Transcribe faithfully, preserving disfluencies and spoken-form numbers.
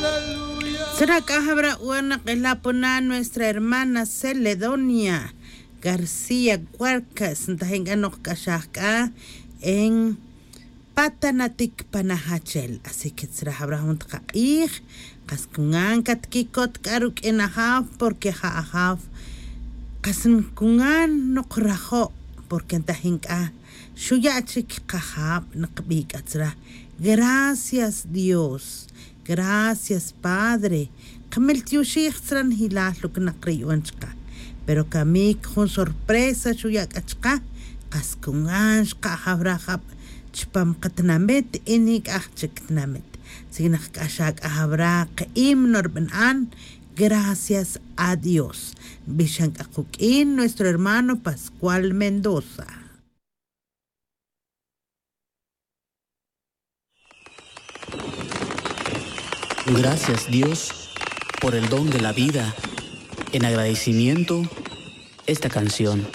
Tzra c'a jawra' wan nak'ila' pona nuestra hermana Celedonia García Guarcas ntajin c'a nokc'axaj c'a en patanatic panajachel. Así que tzra jawra' jun takak'ij kas cungan catquicot c'a ruq'uin ajaw porque ja ajaw kas cungan nokrajo'. Porque ntajin c'a xuya' chic kajab nakabi' c'a tzra. Gracias dios. Gracias padre. Kamil tioxij tzra njilal lo que nak ri yu'an chaka. Pero kamic jun sorpresa xuya' c'a chaka. Kas cungan xka' jawra' jab chupam katinamit y nic'aj chic tinamit. Sic nak c'a xa c'a jawra' ka'im norbana'an. Gracias a dios. Nbixan c'a kuq'uin nuestro hermano pascual mendoza. Gracias dios, por el don de la vida. En agradecimiento, esta canción.